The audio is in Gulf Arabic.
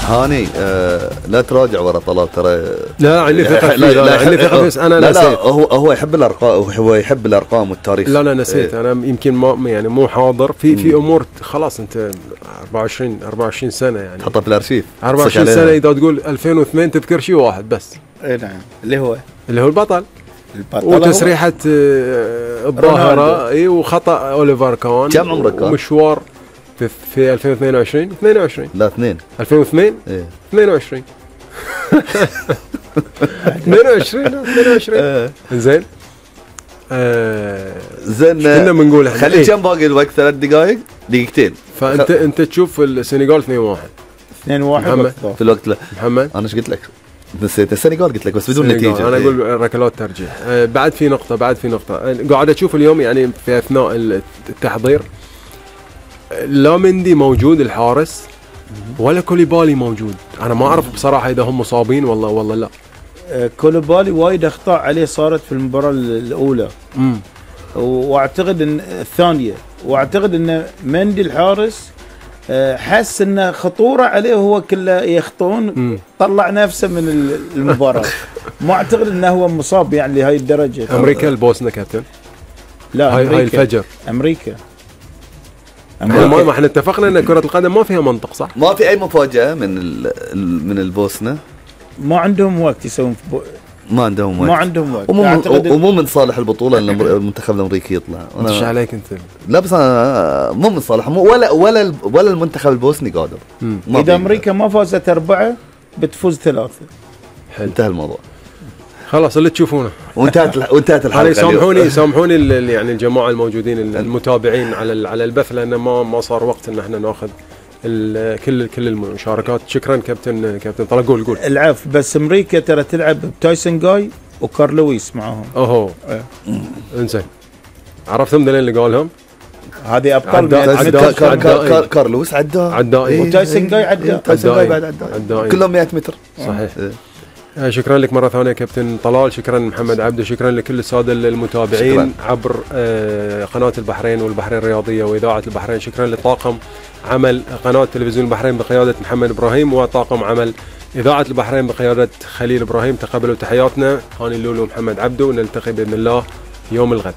هاني لا تراجع ورا طلال ترى. لا عندي ثقة فيه. لا عندي ثقة، بس انا لا نسيت. لا هو يحب الارقام، هو يحب الارقام والتاريخ. لا لا نسيت. انا يمكن ما يعني مو حاضر في امور. خلاص انت 24 سنة يعني حطها في الارشيف 24 سنة. اذا تقول 2002 تذكر شيء واحد بس. اي نعم، اللي هو البطل وتسريحة الظاهرة. اي وخطأ اوليفر كان. كم عمرك كان؟ مشوار في 2022 لا 2 2002 ايه 22 22 زين. زين كنا بنقول احنا خلي كم باقي الوقت؟ 3 دقائق دقيقتين. فانت تشوف السنغال 2-1 في الوقت. لا محمد انا ايش قلت لك؟ نسيت السنغال قلت لك بس بدون نتيجه. انا اقول ركلات ترجيح. بعد في نقطه قاعد اشوف اليوم يعني في اثناء التحضير لا مندي موجود الحارس ولا كوليبالي موجود. انا ما اعرف بصراحه اذا هم مصابين والله لا. كوليبالي وايد اخطاء عليه صارت في المباراه الاولى واعتقد ان الثانيه، واعتقد ان مندي الحارس حس انه خطوره عليه وهو كله يخطون طلع نفسه من المباراه. ما اعتقد انه هو مصاب يعني لهي الدرجه. امريكا البوسنه كابتن. لا هاي الفجر امريكا. ما احنا اتفقنا ان كره القدم ما فيها منطق صح؟ ما في اي مفاجاه من البوسنه. ما عندهم وقت يسوون ما عندهم وقت ومو من صالح البطوله ان المنتخب الامريكي يطلع. ايش عليك انت؟ لا بس انا مو من صالح ولا المنتخب البوسني قادر. اذا امريكا ما فازت 4 بتفوز 3. انتهى الموضوع خلاص اللي تشوفونه. وانتهت الحلقه. سامحوني يعني الجماعه الموجودين المتابعين على البث، لان ما صار وقت ان احنا ناخذ كل المشاركات. شكرا كابتن طلال. قول العفو. بس امريكا ترى تلعب بتايسون جاي وكارلويس معاهم. انزين عرفتهم دلين اللي قالهم. هذه ابطال. كارلويس عداء وتايسون جاي عداء كلهم 100 متر صحيح. شكرا لك مرة ثانية كابتن طلال. شكرا محمد عبده. شكرا لكل السادة المتابعين عبر قناة البحرين والبحرين الرياضية وإذاعة البحرين. شكرا لطاقم عمل قناة تلفزيون البحرين بقيادة محمد إبراهيم وطاقم عمل إذاعة البحرين بقيادة خليل إبراهيم. تقبلوا تحياتنا. هاني اللولو ومحمد عبده، ونلتقي بإذن الله يوم الغد.